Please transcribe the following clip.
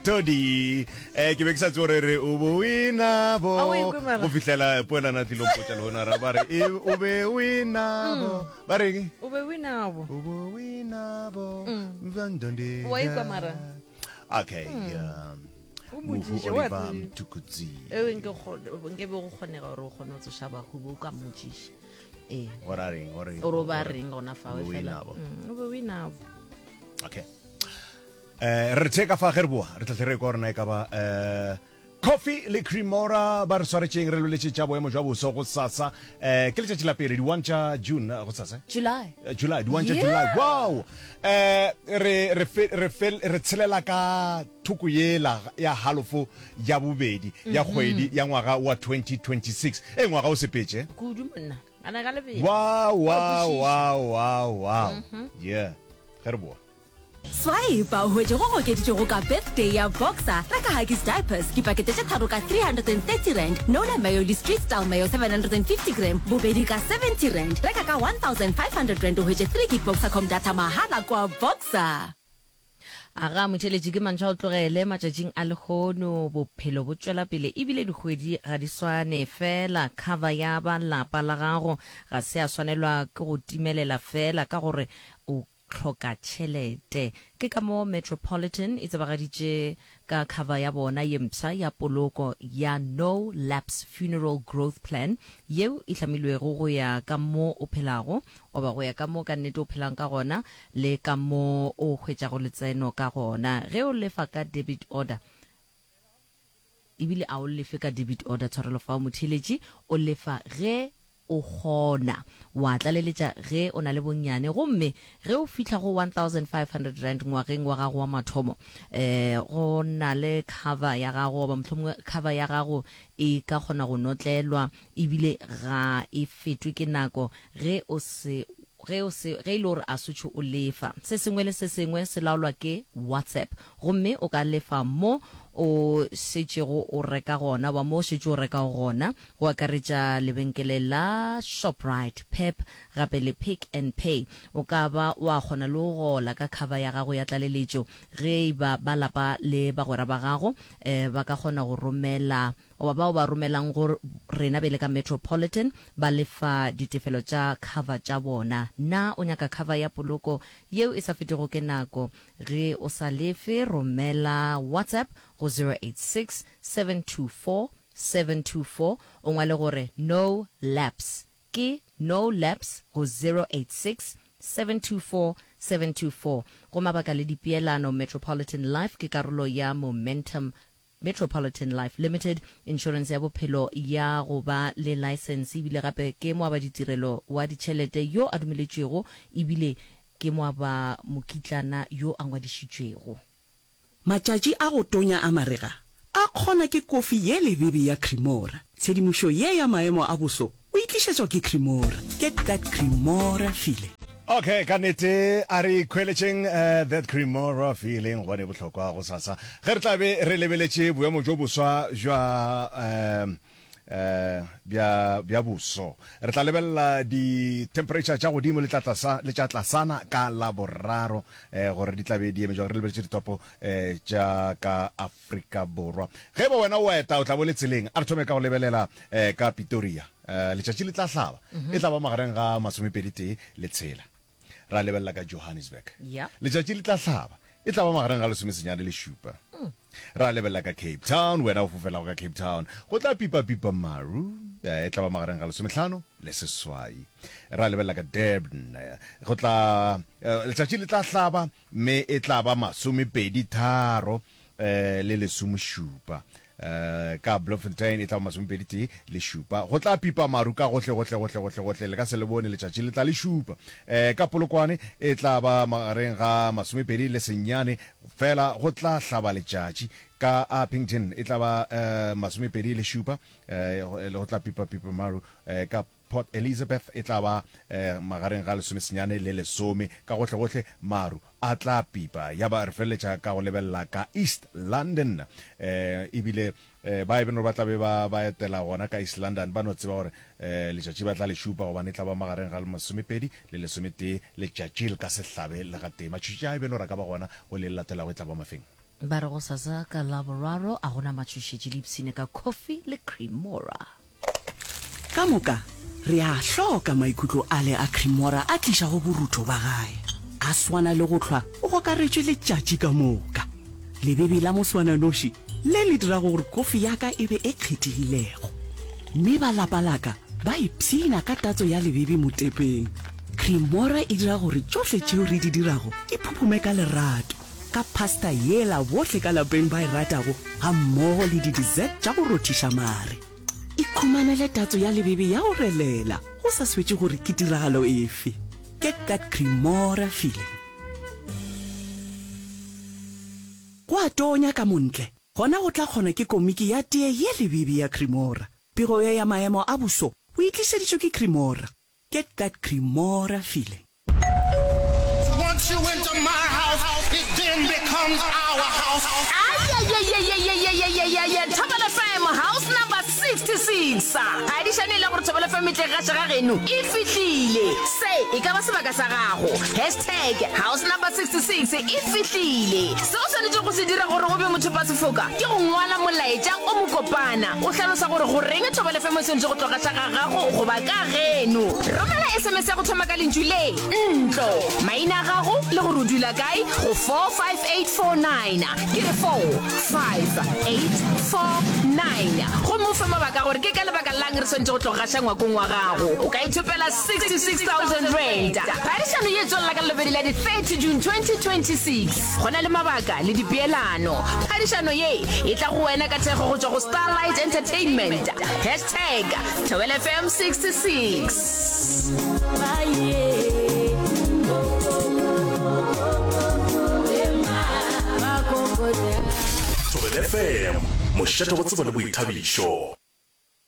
Todi. Eh ke be ke sa tsebe gore re o bo winabo. A o e kwe mara? Go fihlela poelana a tlilo mpotša lehono ra ba re e o be winabo. Ba reng? O be winabo. O bo winabo. Mvandondi. Wa ikwa mara? Okay. Um, O Mohu mmotšiše, wa Oliver tseba. Mtukudzi. Ewe nke kgo- nke be go kgonega gore o kgone go tsoša bahu bo ka mmotšiša. Ee. Gore a reng? Gore Gore o ba reng gona fao o be fela. winabo. Mm, O be winabo. Okay. Eh re theka fa ge re boa re tla re kwa rena e ka ba eh Coffee le Cremora ba re swaretšeng re loletše tša boemo jwa boso go sasa eh ke letšatši la pele di 1 tša June go sasa July. Eh, July di 1 tša Yeah. July wow eh re re fe- re fe- re tshelela ka thoko yela ya halofo ya bobedi ya kgwedi ya ngwaga wa 2026 e ngwaga o sepetše Kudu monna. Ana ka lebelo. wow Wa wow kwešiša. wow wow wow yeah ge re boa Swipe o hwetše go okeditšwego ka Birthday ya Boxer. Reka Huggies Diapers dipakete tše tharo ka R330, Nola Mayo le Street Style Mayo 750g bobedi ka R70. Reka ka R1500 o hwetše 3 gig Boxercom data mahala kwa Boxer. Aga motheeletši ke mantšu a o tlogele matšatšing a lehono bophelo bo tšwela pele ebile dikgwedi ga di swane fela cover ya ba lapa la gago ga se ya swanelwa ke go timelela fela ka gore o hloka tšhelete. Ke ka moo Metropolitan e tsebagaditše ka cover ya bona ye mpsha ya poloko ya No Lapse Funeral Growth Plan yeo e hlamilwego go ya ka mo o phelago goba go ya ka mo ka nnete o phelang ka gona le ka mo o hwetšago letseno ka gona. Ge o lefa ka debit order, ebile a o lefe ka debit order, tshwarelo fao motheeletši, o lefa ge o kgona, wa tlaleletša ge o na le bonnyane, gomme ge o fihla go R1500 ngwageng wa gago wa mathomo, um go na le cover ya gago goba mohlomongwe cover ya gago e ka kgona go notlelwa ebile ga e fetwe ke nako ge o se ge o se ge e le gore a sotšho o lefa. Se sengwe le se sengwe se laolwa ke WhatsApp gomme o ka lefa mo o šetšego o reka gona goba mo o šetše o rekago gona, go akaretša lebenkele la Shoprite, Pep gape le Pick n Pay. O ka ba wa kgona le go gola ka cover ya gago ya tlaleletšo ge e ba ba lapa le bagwera ba gago ba ka kgona go romela goba bao ba romelang go rena bjale ka Metropolitan ba lefa ditefelo tša cover tša bona. Na o nyaka cover ya poloko yeo e sa fetego ke nako? Ge o sa lefe, romela WhatsApp go 086 724 724 o ngwale gore No Lapse. Ke No Lapse go 086 724 724. Go mabaka le dipeelano, Metropolitan Life ke karolo ya Momentum Metropolitan Life Limited, inšorense ya bophelo ya go ba le laesense ebile gape ke moabaditirelo wa ditšhelete yo a dumeletšwego ebile ke moabamokitlana yo a ngwadišitšwego. Matšatši a go tonya a marega a kgona ke kofi ye lebebe ya Cremora. Tshedimošo ye ya maemo a boso o e tlišetšwa ke Cremora. Get that Cremora feeling. Okay, ka nnete a re ikhweletšeng that Cremora feeling gobane e bohlokwa gosasa ge re tla be re lebeletše boemo bjo boswa bja um bja bja boso. Re tla lebelela di-temperature tša godimo le tla tlasa le tša tlasana ka Laboraro gore di tla be di eme jwang re lebeletše ditopo tša ka Afrika Borwa. Ge e ba wena o eta o tla bo le tseleng, a re thome ka go lebelela ka Pitoria. Letšatši le tla hlaba, e tla ba magareng ga masomepedi tee le tshela. Ra lebelela ka Johannesburg. Letšatši le tla hlaba, e tla ba magareng ga lesomesenyane le šupa. Ra lebelela ka Cape Town, wena o fofelago ka Cape Town, go tla pipa-pipa maru, e tla ba magareng ga lesomehlano le seswai. Ra lebelela ka Durban, go tla, letšatši le tla hlaba, mme e tla ba masomepedi tharo le lesomešupa. Ka Bloemfontein e tla ba masomepedi tee le šupa. Go tla pipa maru ka gohle, gohle, gohle, gohle, gohle. Le ka se le bone letšatši, le tla le šupa. Ka Polokwane e tla ba magareng ga masomepedi le senyane, fela go tla hlaba letšatši. Ka Upington e tla ba masomepedi le šupa, go tla pipa pipa maru. Ka Port Elizabeth e tla ba magareng ga lesomesenyane le lesome. Ka gohlegohle maru a tla pipa. Ya ba re feleletša ka go lebelela ka East London. E bile ba e beno ba tla be ba ba etela gona ka East London ba no tseba gore letšatši ba tla le šupa gobane e tla ba magareng ga masomepedi le lesometee. Letšatši le ka se hlabe le gatee. Matšatši a e beno ra ka ba gona go le le latelago e tla ba mafeng. Ba re gosasa ka Laboraro a gona matšhošetši le ipshine ka coffee le Cremora. Ka moka re a hloka maikutlo ale a Cremora a tlišago borutho ba gae. A swana le go hlwa o gokaretšwe letšatši ka moka. Lebebe la moswananoši le le dirago gore kofi ya ka e be e kgethegilego. Mme ba lapa la ka ba ipshina ka tatso ya lebebe motepeng. Cremora e dira gore tšohle tšeo re di dirago di phuphume ka lerato. Ka pasta yela bohle ka lapeng ba e ratago gammogo le di-dessert tša go rothiša mare. Ikhumanele tatso ya lebebe ya go relela go sa swetše gore ke tiragalo efe. Get that Cremora feeling. Go a tonya ka montle, gona go tla kgona ke komiki ya tee ye lebebe ya Cremora. Pego ye ya maemo a boso o e tlišeditšwe ke Cremora. Get that Cremora feeling. Once you enter my house, it then becomes our house. Ayayayayayayayayaya Thobela FM house number 66 Phadišano e la gore Thobela FM e tle gaša ga geno e fihlile. Se e ka ba sebaka sa gago. Hashtag house number 66 e fihlile. Se o swanetšego go se dira gore o be mothopasefoka ke go ngwala molaetša o mokopana o hlalosa gore goreng Thobela FM e swanetše go tlo gaša ga gago goba ka geno. Romela SMS ya go thoma ka lentšu le, ntlo, maina a gago le gore o dula kae go 45849. Ke re 45849. Gomme o fe mabaka a gore ke ka lebaka la'ng re swanetše go tlo gaša ngwakong wa gago. O ka ithopela R66,000. Phadišano ye e tswelela ka Lelobedi la di 30 June 2026. Go na le mabaka le dipeelano. Phadišano ye e tla go wena ka thekgo go tšwa go Starlight Entertainment. Hashtag Thobela FM 66. Thobela FM, mošate wa tsebo le boithabišo.